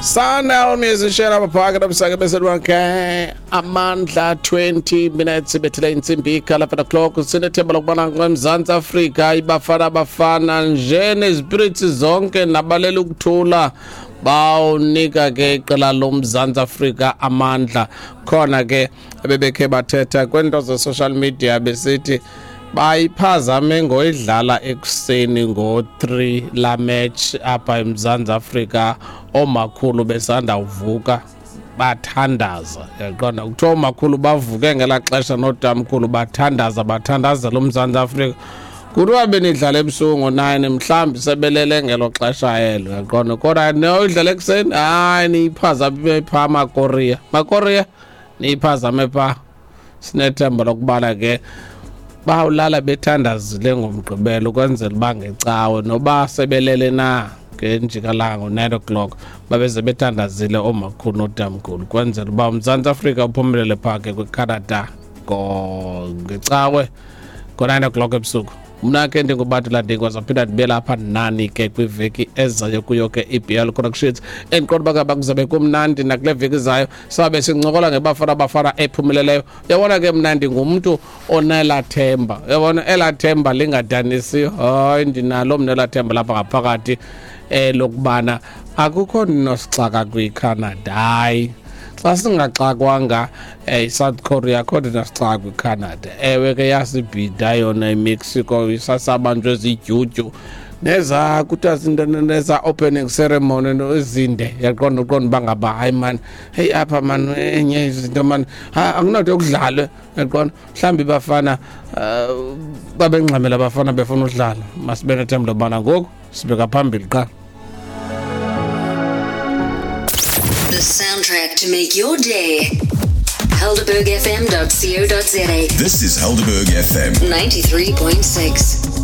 Sundown musician apha phakathi abusake beselwakhe amandla 20 minutes ibethele intsimbi ikhala o'clock. Sinethemba lokubana eMzantsi Afrika ibafana bafana nje nezipirits zonke nabalela ukuthula bawunika ke iqela loMzantsi Afrika amandla. Khona ke ebebekhe bathetha kwento ze-social media besithi bayiphazame ngoyidlala ekuseni ngo-3 la match apha eMzantsi Afrika, oomakhulu besanda uvuka bathandaza. Yaqonda kuthiwa oomakhulu bavuke ngelaa xesha nootamkhulu bathandaza, bathandazela uMzantsi Afrika. Kuthiwa benidlala ebusuku ngo-9 mhlawumbi sebelele ngelo xesha elo, yaqonda. Kodwa noyidlala ekuseni, hayi, niyiphazame phaa Makorea, Makorea niyiphazame phaa. Sinethemba lokubana ke bawulala bethandazile ngomgqibelo ukwenzela uba ngecawe noba sebelele na ngenjikalanga ngo-9 o'clock babeze bethandazile oomakhulu nootamkhulu ukwenzela uba uMzantsi Afrika uphumelele phaa ke kwiCanada ngecawe ngo-9 o'clock ebusuku. Mna ke ndinguBatula Ndingwa, zaphinda ndibe lapha nani ke kwiveki ezayo kuyo ke iBL Connections. Endiqonda uba ngaba kuzabe kumnandi nakule veki izayo, sabe sincokola ngeBafana Bafana ephumeleleyo. Uyabona ke mna ndingumntu onelaa themba, uyabona elaa themba lingadanisiyo. Hayi, ndinalo mna elaa themba lapha ngaphakathi lokubana akukho nosixaka kwiCanada. Hayi, xa singaxakwanga iSouth Korea, akho nto nasixaka kwiCanada. Ewe ke yasibhida yona iMexico, isasabanjwe zidyudyu neza kuthiwa zinto neza opening ceremony ezinde, yaqonda uqonda uba ngaba hayi mani, heyi apha mani enye izinto mani akunado yokudlalwe, yaqonda. Mhlawumbi bafana babengxamela abafana befuna udlala. Masibe nethemba lobana ngoku sibeka phambili qha. The soundtrack to make your day. HelderbergFM.co.za. This is Helderberg FM 93.6.